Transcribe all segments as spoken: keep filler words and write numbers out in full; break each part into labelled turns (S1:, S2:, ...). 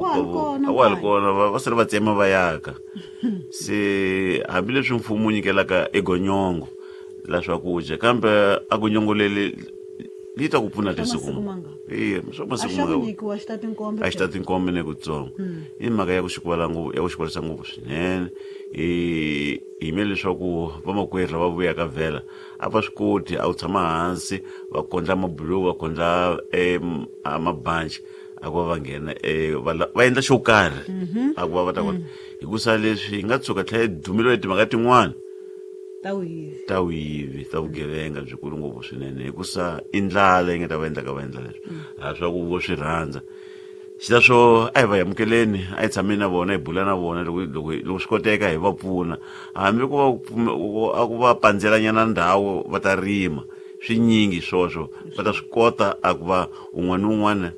S1: Wa ha ri kona
S2: a wa ha ri
S1: nkanyi.
S2: kona va va sele va tsema va yaka se hambileswi mfumo wu nyikelaka egonyongo la swakudya kambe a gonyongo leri li ta ku pfuna
S1: Swa
S2: tisiku
S1: masiku mangani?
S2: e swa
S1: A
S2: masiku
S1: xa ku
S2: mangani
S1: nyikiwa xi ta tinkombe
S2: a xi ta tinkombe ne kutsongo i mhaka ya ku xikwala ngopfu ya ku xikwalisa ngopfu swinene hi yimele leswaku vamakwerhu lava vuyaka vhela a va swi koti a wu tshama hansi va kondla mabulomu va kondla em, a mabanci a ku va va nghena eh, va la- va endla xo karhi a ku va va ta kota hikusa leswi hi nga tshuka tlhela hi dumeliwa hi timhaka tin'wana
S1: ta vuyivi
S2: ta vuyivi ta vugevenga byikulu ngopfu swinene hikusa i ndlala yi nga ta va endlaka va endla leswi a swa ku vo swi rhandza xileswo a hi va amukeleni a hi tshameni na vona hi bula na vona loko loko loko swi koteka hi va pfuna hambi ku va pfume- ku- a ku va pandzelanyana ndhawu va ta rima swinyingi swoswo va ta swi kota a ku va un'wana ni un'wana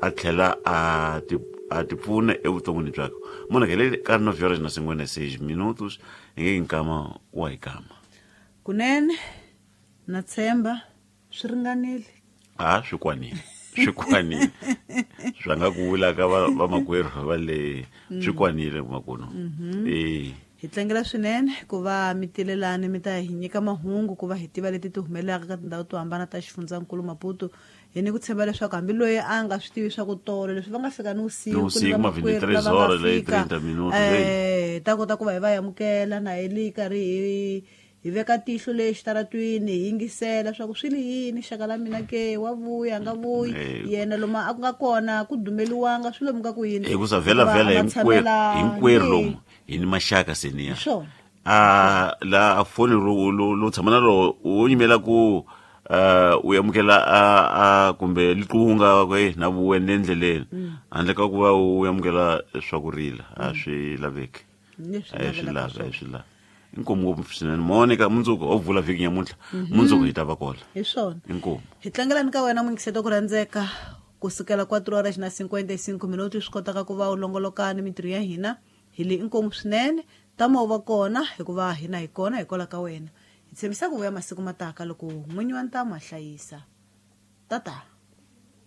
S2: a tlhela a ti a ti pfuna evuton'wini byakwe munhu ke le ka nove horas na cinquenta e seis minutos hi nge nkama wa hi kama
S1: kunene na tshemba swi ringanile
S2: a swi kwanile swi kwanile swa nga ku vula ka va- vamakwerhu va le swi kwanile makuno e
S1: hi tlangela swinene ku va mi tilelani mi ta hi nyika mahungu ku va hi tiva leti ti humelelaka ka tindhawu to hambana ta xifundzankulu Maputo hi ni ku tshemba leswaku hambi loyi a nga swi tivi swa ku tolo leswi va nga fika ni
S2: Ni
S1: vusiku ni
S2: vusiku, ma
S1: vamakwerhu
S2: veintitrés
S1: lava nga
S2: horas leyi
S1: fika,
S2: treinta minutos leyi.
S1: eh, hi ta kota ku va hi va amukela na hi li karhi hi hi veka tihlo le xitaratwini hi yingisela swa ku swi li yini xaka la mina ke wa vuya a nga vuyi
S2: Eh.
S1: yena lomu a ku nga kona ku dumeliwanga swi lomu ka ku yini
S2: hikusa vhela
S1: Hikuva
S2: vhela
S1: a va
S2: hinkwerhu
S1: tshamelangi.
S2: hinkwerhu lomu hi ni maxaka seniya
S1: Hi swona.
S2: a la a foni ro lo lo tshama na ro wo yimela ku uh, u amukela a a kumbe liqunga ku e na vuwe ni le endleleni handle ka ku va u amukela swa ku rila a swi laveki
S1: Leswi
S2: a hi swi
S1: navelaka
S2: lavi a
S1: swona.
S2: hi swi lavi inkomu ngopfu swinene monika mundzuku ho vula vhiki nyamuntlha mundzuku hi ta va kola
S1: hi swona
S2: inkomu
S1: hi tlangelani ka wena muyingiseti ku rhandzeka kusukela quatro horas na cinquenta e cinco minutos swi kotaka ku va u longolokani mintirho ya hina hi le inkomu swinene tama u va kona hikuva hina hi kona hikwalaho ka wena hi tshembisa ku vuya masiku mataka loko n'winyi wa ntamu a hlayisa tata.